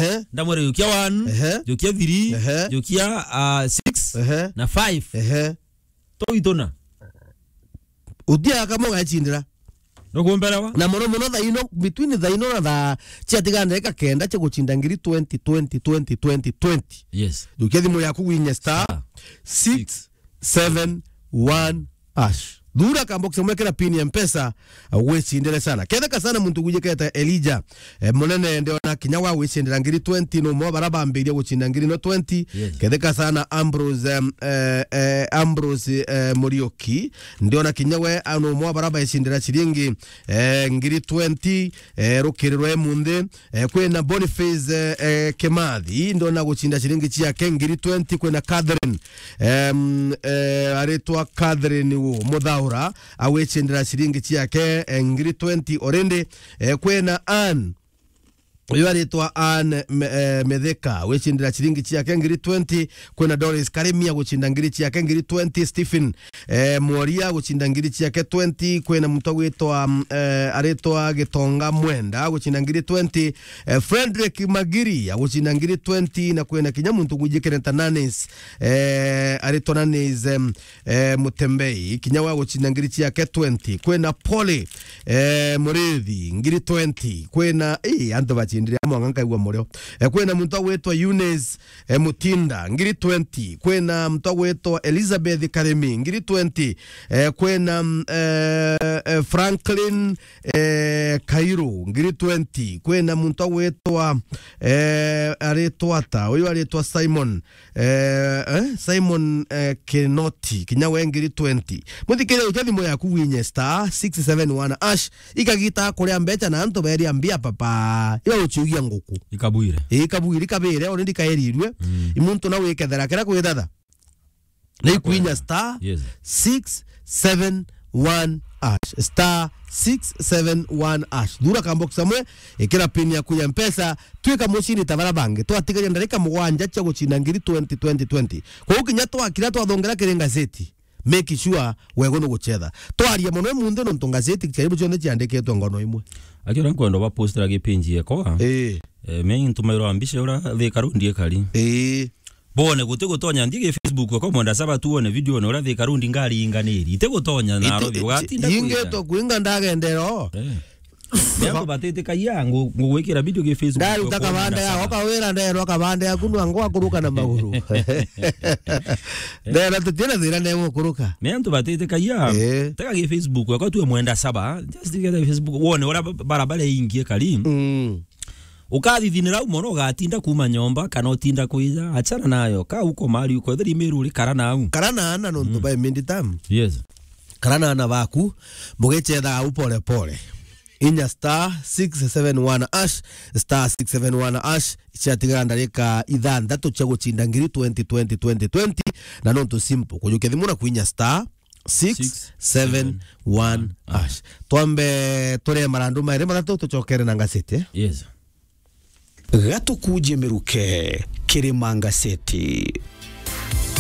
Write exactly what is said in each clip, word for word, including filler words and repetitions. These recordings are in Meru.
Ehe. Ndamwira, "Jukia one, Ehe. jukia three, Ehe. jukia, ah, six, Ehe. na five." Ehe. Toitona. Utia kama ugacindira. Nukumbelewa? Na mono mono thaa ino, between thaa ino na thaa ciatiga ndagika kenda cia gucinda ngiri twenty, twenty, twenty, twenty, twenty. Yes. Jukia thimu yaku winye star Star. six seven one hash. Thura kambox kamwe kena pin ya Mpesa, uh, wicindire sana. Ketheka sana muntu gwijikete Elijah, eh, Munene, ndiona kinya wa gwicindira ngiri twenty, no mo bara bambiria gucinda ngiri no twenty. Yes. Ketheka sana Ambrose, em, eh, eh, Ambrose, eh, Muriuki, ndiona kinya we, ah, no mo bara baicindira ciringi, eh, ngiri twenty, eh, rukiri rwa munthi. Eh, kwina Boniface, eh, eh, Kimathi, ndona gucinda ciringi ciake ngiri twenty. Kwina Catherine, em, eh, aritwa Catherine wo Muthaura, agwicindira ciringi ciake, eh, ngiri twenty already. Eh, kwina Ann, uyu aritwa Ann Me-, eh, Metheka, agwicindira ciringi ciake ngiri twenty. Kwina Doris Karimi agucinda ngiri ciake ngiri twenty. Stephen, eh, Mworia agucinda ngiri ciake twenty. Kwina muntu agwitwa, mm, eh, aritwa Gitonga Mwenda agucinda ngiri twenty. Eh, Frederick Magiri agucinda ngiri twenty. Na kwina kinya muntu gwijikene ta Nanis, eh, aritwa Nanis, em, eh, Mutembei, kinya wa gucinda ngiri ciake twenty. Kwina Polly, eh, Murithi, ngiri twenty. Kwina, eh, antu bacindire amwe nkaigua murio. Eh, kwina muntu agwitwa Eunice, eh, Mutinda, ngiri twenty. Kwina muntu agwitwa Elizabeth Karimi, ngiri twenty. Eh, kwina, mm, eh, eh, Franklin, eh, Kairu, ngiri twenty. Kwina muntu agwitwa, eh, aritwa ata? Uyu aritwa Simon, eh, eh, Simon, eh, Kinoti, kinya we ngiri twenty. Muthikiria, utia thimu yaku winye star six seven one hash, ikagita kuria mbeca na antu beria mbia papa. Iba uciugia nguku. Ikabwire. Ikabwire, ikabire, already kaerirwe. Mm. Imuntu na wikethera kira kwithatha. Na ikwinya star Yes. six seven one hash. Star six seven one hash. Thura kambox kamwe, ikira pin yaku ya Mpesa, twika mucini ta bara bangi. Twatigaria ndarika mugwanja cia gucina ngiri twenty, twenty, twenty. Kwou kinya twakira twathongera kiri ngazeti, make sure wego ni gucetha. Twaria mono munthi nontu ngazeti karibu cionthe ciandikitwe ngono imwe. Akiona nkwenda ba postera gipinji yako. Eh. Eh, me ntumairwa mbica ura Thika Road ikari. Eh. Bone guti gutonya nthi gi Facebook kwa mwenda saba tu one video one ura Thika Road ngari inganiri. Iti gutonya na Iti-, robi iti-, ugatinda inge kuiga. To kuinga ndagendero. Eh. Ni antu batitikagia ngu-, ngugwikira video gi Facebook. Ndaruta kwa kabande mwenda ya, saba. Oka wira nderwa kabande yaku nwa ngwa kuruka na maguru. Ndera tutina thira ne gukuruka. Ni antu batitikagia. Eh. Tega gi Facebook kwa tu mwenda saba. Just get Facebook. Wone ura ba-, barabara ingie kari. Mm. Ukathithinira u mono, ugatinda kuuma nyomba, kana utinda kwija, achana nayo. Ka uko mali uko, etheri miru uri kara nau. Kara na ana nontu Mm. by midterm. Yes. Kara na ana baku, mugicetha au pole pole. Inya star six seven one hash, star six seven one hash, ciatigara ndarika ithanthatu cia gucinda ngiri twenty, twenty, twenty, twenty, na nontu simple. Kujukia thimu na kwinya star six seven one hash. Twambe turie marandu mairi mathatu tucokere na ngacete. Yes. Gatukuje miruke kiri mangaceti.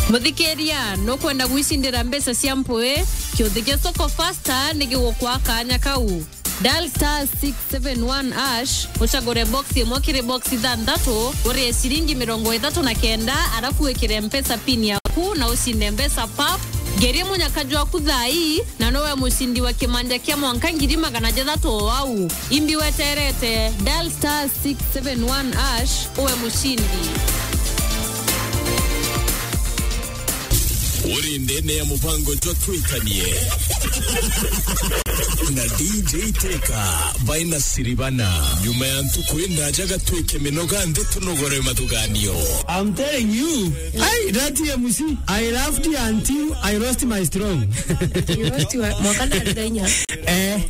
Muthikiria, nukwenda gwicindira mbeca cia mpui? Kiuthi gia Soko Fasta ni gigukwa kanya kau. Dial star six seven one hash, ucagure box imwe kiri box ithanthatu, urie ciringi mirongo ithatu na kenda, arafu wikire Mpesa pin yaku na ucinde mbeca pap. Ngerie munyaka jwaku thaa ii, na nowe mucindi wa kimanja kia mwanka ngiri magana jathatu o au. Imbi weterete, dial star six seven one hash, uwe mucindi. Uri ndene ya mubango jwa Twikanie na D J Teka baina siribana. Nyuma ya ntuku indaja gatwike minoga nthi tunogore mathuganio. I'm telling you, hey, that M C, I laughed until I lost my strong. You lost your, mwaka na ndainya. Eh.